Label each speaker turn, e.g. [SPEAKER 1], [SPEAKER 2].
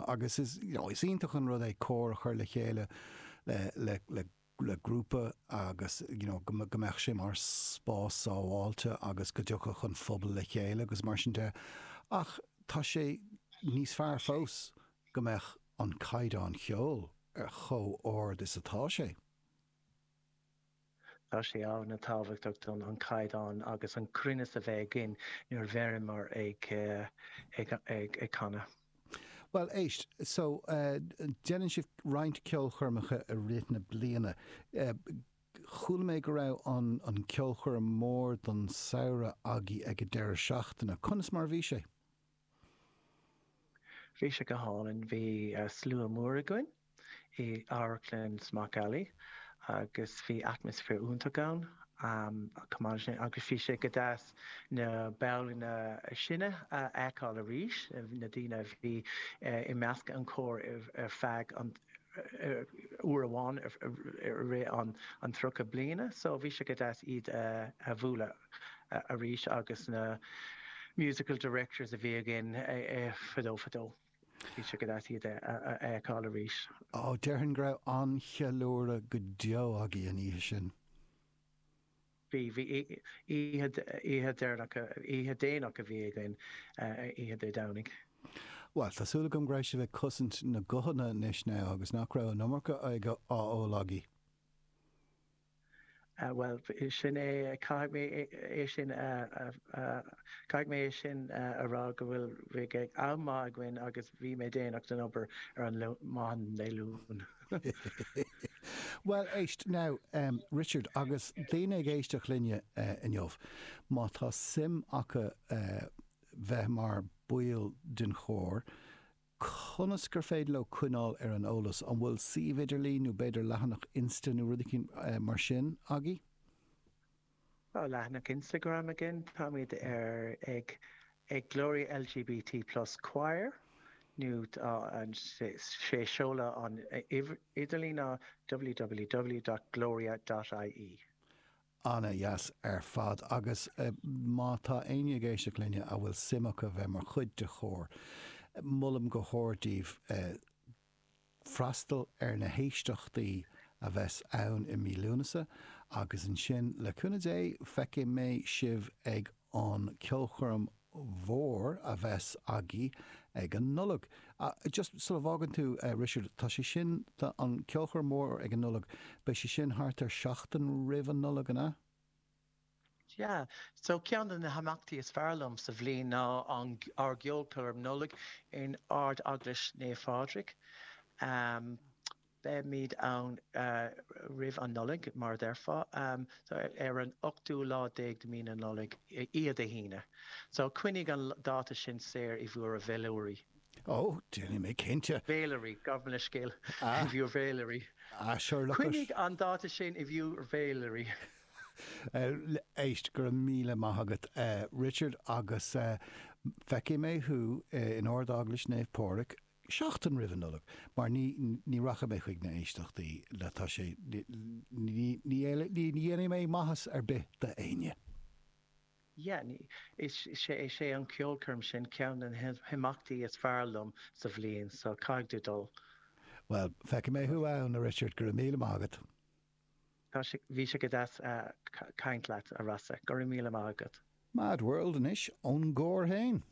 [SPEAKER 1] agus is, you know, is iontach an rud é cór a chur le chéile le, le, le, le grúpa agus, you know, go, go mbeadh sé mar spás sábháilte agus go dtiocfadh an phobal le chéile agus mar sin de ach tá sé níos fearr fós go mbeadh an caighdeán cheoil ar chomh ard is atá sé.
[SPEAKER 2] Tá sé an-tábhachtach don an caighdeán agus an cruinneas a bheith againn nuair a bheireamar ag ag ag canadh.
[SPEAKER 1] Bhuel, éist, so, déanann sibh roinnt ceolchoirmeacha i rith na bliana. Chuala mé go raibh an an ceolchoirm mór don samhradh agaibh ag an deireadh seachtaine. Conas mar a bhí sé?
[SPEAKER 2] Bhí sé go hálainn. Bhí slua mór againn i Amharclann Smock Alley agus bhí atmaisféar iontach ann chomh maith leis sin agus bhí sé go deas na baill is sine a fheiceáil arís, na daoine a bhí i measc an chóir ar feadh an uair amháin i rith an 30 bliana so bhí sé go deas iad a bhualadh. arís agus na musical directors a bhí againn fadó fadó. Bhí sé go deas iad a fheiceáil
[SPEAKER 1] arís. Ó, déarfainn go raibh an-cheiliúradh go deo agaibh an oíche sin.
[SPEAKER 2] Bhí, bhí. Oíche, oíche deireanach, oíche déanach a bhí againn, oíche Dé Domhnaigh.
[SPEAKER 1] Bhuel, tá súil agam go raibh sibh ag cosaint na guthanna anois now agus nach raibh an iomarca á ól agaibh.
[SPEAKER 2] Bhuel, sin é, caithfidh mé é sin a, caithfidh mé é sin a rá go bhfuil, bhí am maith againn agus bhí mé déanach don obair ar an maidin Dé Luain.
[SPEAKER 1] Bhuel, éist, now, Richard, agus daoine ag éisteacht linne inniu, má tá suim acu bheith mar baill den chór, Conas gur féidir leo coinneáil ar an eolas? An bhfuil suíomh idirlín nó b'fhéidir leathanach Insta nó rud eicínt mar sin agaibh?
[SPEAKER 2] Tá leathanach Instagram againn. Táimid ar ag ag Gloria LGBT Plus Choir nó tá an sé seoladh an idirlín ná www dot gloria dot ie.
[SPEAKER 1] Ana-dheas ar fad. Agus má tá éinne ag éisteacht linne a bhfuil suim acu bheith mar chuid de chór, molaim go hard daoibh freastal ar na héisteachtaí a bheas ann i mí Lúnasa agus ansin, le cúnamh Dé, feicfidh mé sibh ag an ceolchoirm mhór a bheas agaibh ag an Nollaig. Just sula bhfágann tú, Richard, tá sé sin, tá an ceolchoirm mhór ag an Nollaig, beidh sé sin thart ar seachtain roimh an Nollaig, an ea?
[SPEAKER 2] Yeah. So ceann de na himeachtaí is fearr liom sa bhliain ná an, ár gceolchoirm Nollag in Ard-Eaglais Naomh Phádraig. Beimid ann roimh an Nollaig, mar a déarfá, so ar an ochtú lá déag de mí na Nollag, oíche Dé hAoine. So coinnigh an dáta sin saor i bhur bhféilirí.
[SPEAKER 1] Ó, déanfaidh mé cinnte.
[SPEAKER 2] Bhféilirí, gabh mo leithscéal, i bhur bhféilirí.
[SPEAKER 1] Ah, sure, look
[SPEAKER 2] Coinnigh an dáta sin i bhur bhféilirí.
[SPEAKER 1] Éist, go raibh míle maith agat, Richard, agus feicfidh mé thú in Ard-Eaglais Naomh Pádraig seachtain roimh an Nollaig, mar ní, ní rachaidh mé chuig na héisteachtaí le, tá sé, ní, ní, ní dhéanfaidh mé maitheas ar bith d'éinne.
[SPEAKER 2] Yeah, ní, is, is é, is é an ceolchoirm sin ceann de na himeachtaí is fearr liom sa bhliain, so caithfidh tú dul.
[SPEAKER 1] Bhuel, feicfidh mé thú ann, a Richard, go raibh míle maith agat.
[SPEAKER 2] Tá sé, bhí sé go deas caint leat, a Rossa. Go raibh míle maith agat.
[SPEAKER 1] Mad World anois ón gcór féin.